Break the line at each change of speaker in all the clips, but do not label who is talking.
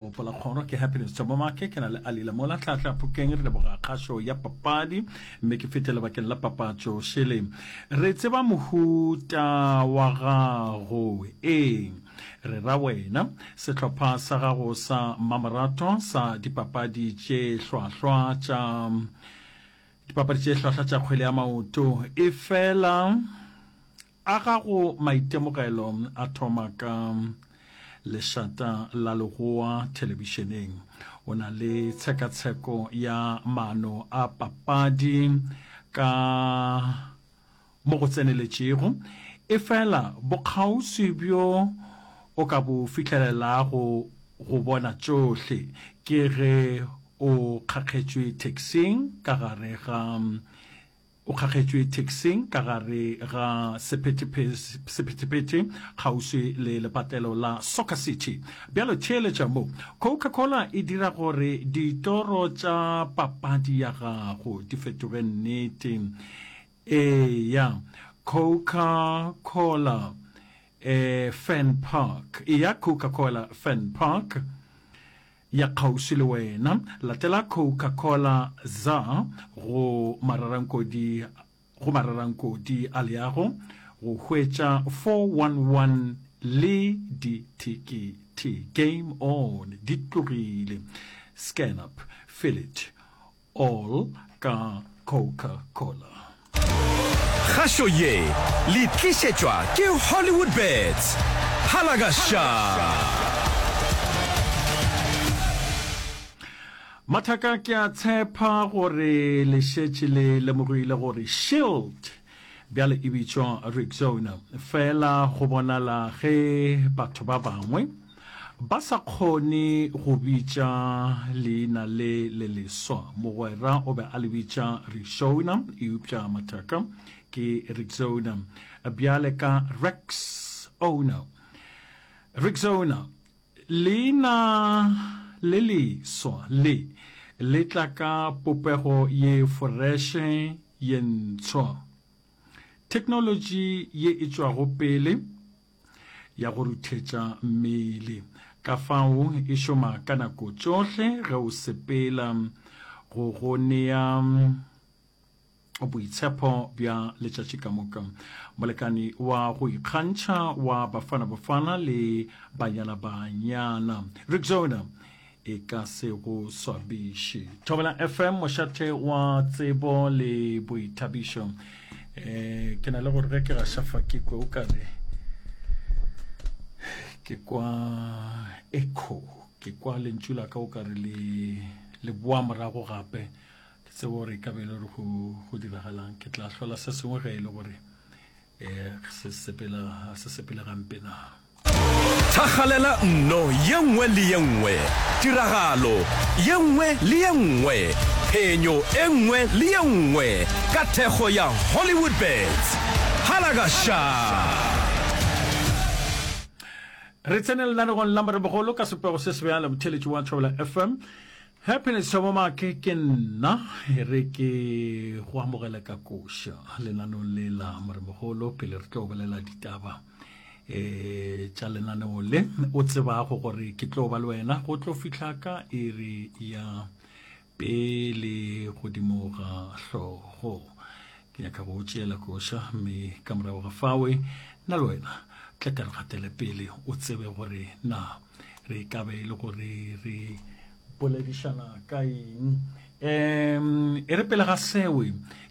Gopola kgoro ke Happiness Thobomake, ke na le Ali Lamola Tlhahla Phokeng, re leboga kgašo ya papadi mme ke fete lebakeng la papatšo šele. Re tseba mohuta wa gago, ee, re ra wena, sehlopha sa gago sa mmamoratwa sa dipapadi tše hlwahlwa tša dipapadi tše hlwahlwa tša kgwele ya maoto, efela A gago maitemogelo a thoma ka lešata la legoa thelebišeneng? O na le tshekatsheko ya maano a papadi ka mo go tseneletšego, efela bokgauswi bjo o ka bo fihlelelago go bona tšohle ke ge o kgakgetšwe taxing ka gare ga O kgakgetšwe taxing ka gare ga sephethephethe kgauswi le lepatlelo la Soccer City. Bjalo theeletša mo. Coca-Cola e dira gore ditoro tša papadi ya gago di fetoge nnete. Eya, Coca-Cola eh, Fan Park. Eya Coca-Cola Fan Park. Ya kgauswi le wena. Latela Coca-Cola za go mararankodi go mararankodi a leago go hwetša 411 le dithekethe. Game on! Di tlogile. Scan up, feel it all ka Coca-Cola.
Kgašo ye le tlišetšwa ke Hollywood Bets. Halagaša!
Mathaka ke a tshepa gore le šetše le lemogile gore Shield bjale e bitšwa Rexona. Fela go bonala ge batho ba bangwe ba sa kgone go bitša leina le le leswa. Mogwera o be a le bitša Rixona, eupša mathaka ke Rixona. Bjale ka Rex Owner. Rixona, leina le leswa le le tla ka popego ye foreše ye ntshwa. Theknolotši ye e tšwago pele ya go ruthetša mmele. Ka fao e šoma ka nako tšohle ge o sepela go go nea boitshepo bja letšatši ka moka. Molekani wa go ikgantšha wa Bafana Bafana le Banyana Banyana, Rexona e ka se go swabiše. Thobela FM, mošate wa tsebo le boithabišo. Eh, ke na le gore ge ke gaša fa ke kwe o kare ke kwa echo, ke kwa lentšu la ka o kare le le boa morago gape. Ke tsebe gore e ka be e le gore go go diragalang. Ke tla hlola se sengwe ge e le gore eh se sepela se sepele gampe na.
Thakgalela nno ye nngwe le ye nngwe, tiragalo ye nngwe le ye nngwe, phenyo e nngwe le ye nngwe ka thekgo ya Hollywoodbets. Halagaša!
Re tsene lenanegong la Morebogolo ka sepego se sebjalo, motheeletši wa Thobela FM. Happiness Thobomake ke nna, e re ke go amogele ka koša lenanong le la Morebogolo pele re tlo bolela ditaba e tša lenaneo le o tsebago gore ke tlo ba le wena go tlo fihla ka iri ya pele godimo ga hlogo. Ke nyaka go tšeela koša mme ka morago ga fawe nna le wena tla ka re gatele pele o tsebe gore na re ka be e le gore re boledišana ka eng. Um e re pele ga sewe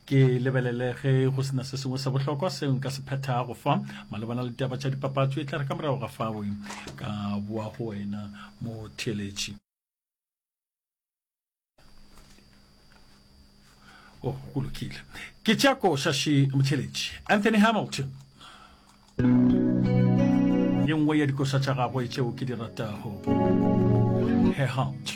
ke lebelele ge go sena se sengwe sa bohlokwa seo nka se phethago fa malebana le ditaba tša dipapatso, e tla re ka morago ga fawe ka boa go wena motheeletši. Oh, go lokile. Ke tša koša še motheeletši Anthony Hamilton. Ye nngwe ya dikoša tša gagwe tšeo ke di ratago, Her Heart.